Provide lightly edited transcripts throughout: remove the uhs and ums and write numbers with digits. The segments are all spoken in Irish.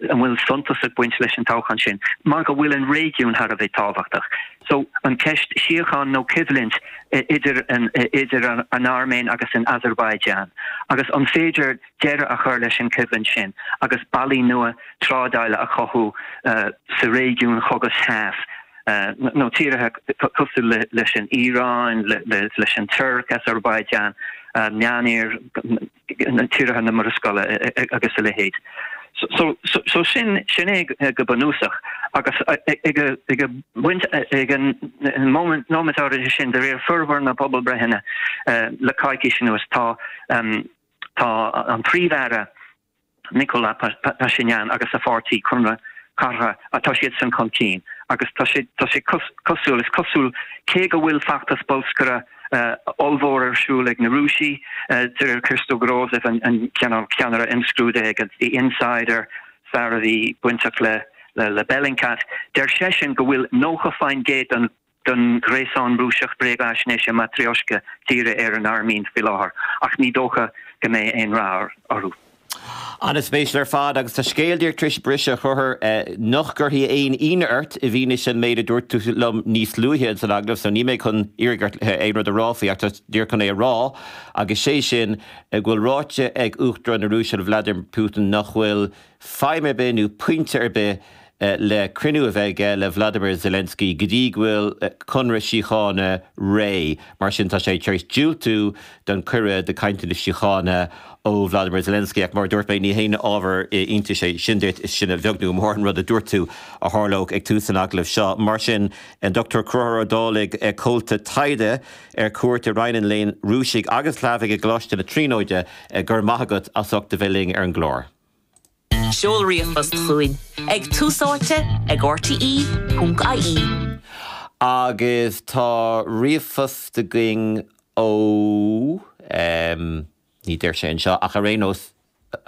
an bhfuil suntas ag baint leis an toghchán sin mar go bhfuil an réigiún thar a bheith tábhachtach. So an ceist síocháin nó coimhlint idir an idir an Airméin agus an Azerbaijan agus an féidir deireadh a chur leis an choimhlint sin agus bealaí nua trádála a chothú sa réigiún Chaucas Theas nó tíortha cosúil leis an Iaráin, leis an Tuirc, Azerbaijan, Meánoirthear, tíortha na Murascaille agus a leithéid. So so sin sin é go bunúsach agus ag ag baint ag an nóiméad áirithe sin de réir formhór na pobalbreitheanna le coicís anuas tá tá an Príomh-Aire Nikol Pashinyan agus a pháirtí Conradh Cathartha, tá siadsan chun cinn agus tá sé tá sé cosúil, is cosúil, cé go bhfuil feachtas bolscaireachta ollmhór ar siúl ag na Rúisigh, de réir Christo Grozev, an ceannaire imscrúdaithe ag The Insider, fear a bhí bainteach le le Bellingcat, deir seisean go bhfuil 90% den den ghréasán Rúiseach bréagaisnéise Matryoshka dírithe ar an Airméin faoi láthair, ach ní dócha go mbeidh aon rath orthu. An-spéisiúil ar fad, agus tá scéal díreach tar éis briseadh, a Chonchúir, nach gcuirfidh aon ionadh ort i bhfianaise an méid a dúirt tú liom níos luaithe ins an agallamh, so níl mé chun iarraidh ort aon rud a rá faoi, ach tá díreach chun é a rá, agus sé sin go bhfuil ráite ag Uachtarán na Rúise, Vladimir Putin, nach bhfuil feidhm ar bith nó pointe ar bith le cruinniú a bheith aige le Vladimir Zelensky go dtí go bhfuil conradh síochána réidh. Mar sin tá sé tar éis diúltú don cuireadh do cainteanna síochána ó Vladimir Zelensky. Ach mar a dúirt mé, ní haon ábhar iontais é sin duit, is sin a bheag nó a mhór an rud a dúirt tú a tharlódh ag tús an agallaimh seo. Mar sin, an Dr Conchúr Ó Dálaigh, Comhalta Taighde ar cuairt i Roinn an Léinn Rúisigh agus Shlavaigh i gColáiste na Tríonóide, go raibh maith agat as ucht a bheith linn ar an gclár. Seol ríomhphost chugainn ag túsáite ag rte.ie. Agus tá ríomhphost againn ó, ní deir sé anseo, ach ar aon nós,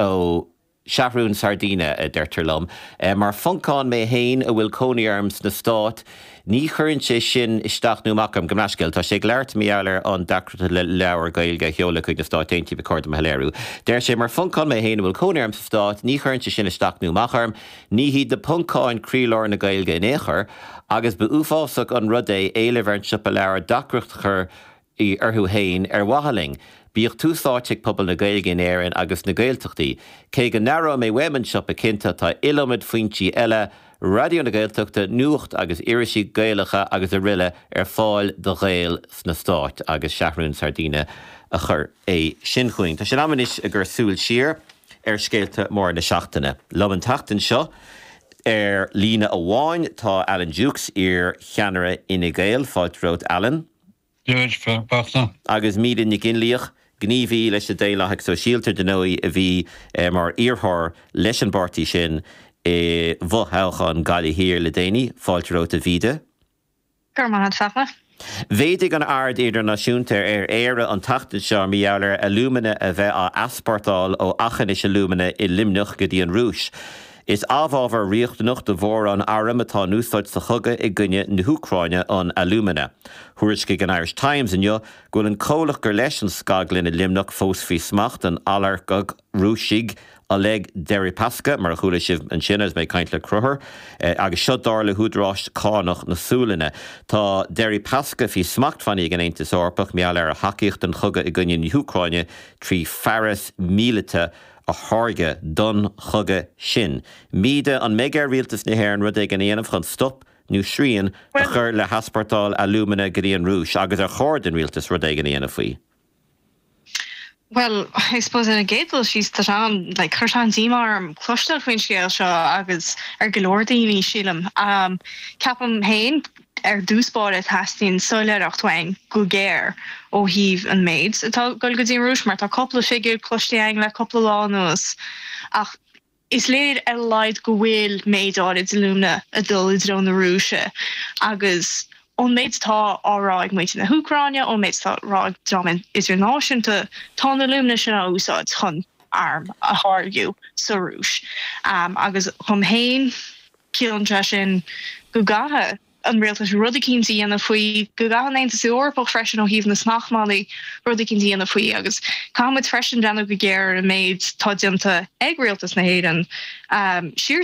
ó Seathrún Sardina, a deirtear liom. Mar Phoncán mé fhéin a bhfuil cónaí orm sna Stáit, ní chuireann sé sin isteach nó amach orm, gabh mo leithscéal, tá sé ag labhairt mar gheall ar an deacracht le leabhar Gaeilge a sheoladh chuig na Stáit Aontaithe, ba chóir dom a shoiléiriú. Deir sé, Mar Phoncán mé fhéin a bhfuil cónaí orm sa Stát, ní chuireann sé sin isteach nó amach orm. Ní hiad na Poncáin croílár na Gaeilge in aon chor, agus ba uafásach an rud é éileamh ar an siopa leabhar deacracht a chur orthu fhéin ar mhaithe linn. Bíodh tús áite ag pobal na Gaeilge in Éirinn agus sna Gaeltachtaí. Cé go n-aireoidh mé uaim an siopa cinnte, tá iliomad foinsí eile, Raidió na Gaeltachta, nuacht agus irisí Gaelacha agus aroile ar fáil do Ghaeil sna Stáit agus Seathrún Sardina a chuir é sin chugainn. Tá sé in am anois ag cur súil siar ar scéalta móra na seachtaine. Liom an tseachtain seo ar líne amháin tá Alan Dukes, iar-cheannaire Fhine Gael. Fáilte romhat Alan. Dia duit, a Fhachtna. Agus Míde Nic Fhionnlaoich, gníomhaí leis na Daonlathaigh Sóisialta, dar ndóigh, a bhí mar iarrthóir leis an bpáirtí sin i bhfothoghchán Gaillimh Thiar le déanaí. Fáilte romhat, a Mhíde. Go raibh maith agat, a Fhachtna. Mhéadaigh an aird idirnáisiúnta ar Éire an tseachtain seo mar gheall ar alúmana a bheith á easpórtáil ó aughinish alumina i Luimneach go dtí an Rúis. Is amhábhar riachtanach do mhórán arm atá in úsáid sa chogadh i gcoinne na hÚcráine an alúmana. Thuairiscigh an Irish Times inniu go bhfuil an comhlacht gur leis an scaglann i Luimneach fós faoi smacht an olagarcaigh Rúisigh Oleg Deripaska, mar a chuala sibh ansin agus mé ag caint le Conchúr, agus seo dar le húdaráis cánach na Sualainne. Tá Deripaska faoi smachtbhannaí ag an Aontas Eorpach mar gheall ar a thacaíocht don chogadh i gcoinne na hÚcráine trí fearas míleata a tháirgeadh don chogadh sin. Míde, an mbeidh ar Rialtas na hÉireann rud éigin a dhéanamh chun stop nó srian a chur le heaspórtáil alúmana go dtí an Rúis agus ar chóir don Rialtas rud éigin a dhéanamh faoi? Bhuel, I suppose ar an gcéad dul síos, tá sé an, like, chuir sé an-díomá orm cloisteáil faoin scéal seo agus ar go leor daoine, sílim. Ceapaim féin, ar dtús báire, teastaíonn soiléireacht uainn go géar ó thaobh an méid atá ag dul go dtí an Rúis mar tá cúpla figiúr cloiste againn le cúpla lá anuas ach is léir ar a laghad go bhfuil méid áirid alúmana ag dul i dtreo na Rúise agus ón méid atá á rá ag muintir na hÚcráine, ón méid atá á rá ag dream idirnáisiúnta, tá an alúmana sin á úsáid chun airm a tháirgiú sa Rúis agus dhom féin, Ciallaíonn sé sin go gcaithfidh an rialtas rud eicínt a dhéanamh faoi, go gcaithfidh an Aontas Eorpach freisin ó thaobh na smachtbhannaí rud eicínt a dhéanamh faoi agus caithfidh muid freisin breathnú go géar ar an méid atá déanta ag rialtas na hÉireann siar.